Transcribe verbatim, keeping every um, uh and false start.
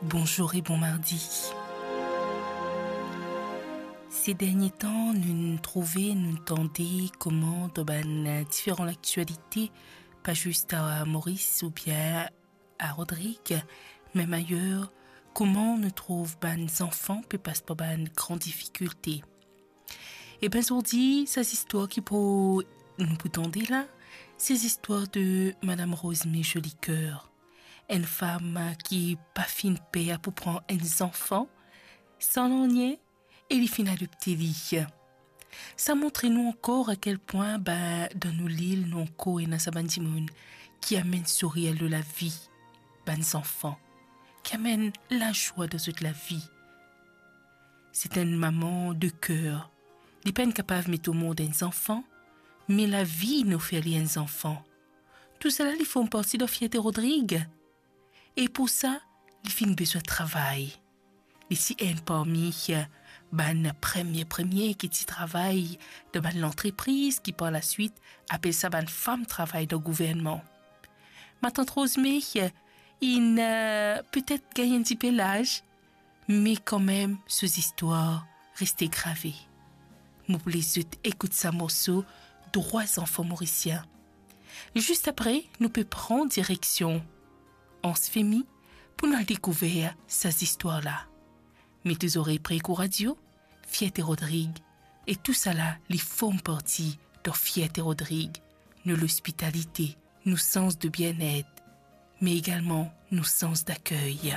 Bonzour e bon mardi. Se dernie tan, nou trouve, nou tande kouma dan bann, eh, diferan laktialite, pa zis a Moris oubien a Rodrig, mem ayer, kouma nou trouv bann zanfan pe pas par bann gran difikilte. E ben, zordi, sa zistwar ki pou, nou pou tande la, se zistwar de Madam Rosmé Jolicoeur, enn fam ki pa finn per pou pran enn zanfan, san nanye, e li finn adopte li. Sa montre nou ankor a kel pwin, ben, dan nou lil, nou ankor ena sa bann dimoun ki amenn sourir lor lavi bann zanfan, ki amenn lazwa dan zot lavi. Se enn mama de ker. Li pa'nn kapav met omond enn zanfan, me lavi inn ofer li enn zanfan. Tousala li form parti dan fierte Rodrig. E pou sa, li finn bizin travay. Li ti enn parmi, eh, bann premie, premie ki ti travay dan bann lantrepriz ki par laswit apel sa bann fam travay dan gouvernman. Matant Rosmé, eh, inn, eh, petet gagn enn tipe laz, me kanmem so zistwar reste grave. Mo pou les zot ekout sa morso, Drwa Zanfan Morisien. Zis apre, nou pe pran direksion Anse Vimy pou nou al dekouver sa zistwar la. Met to zorey pre Kuradio, Fierte Rodrig, e tousala li form parti dan Fierte Rodrig, nou lospitalite, nou sans de bienet, me egalman nou sans dakey.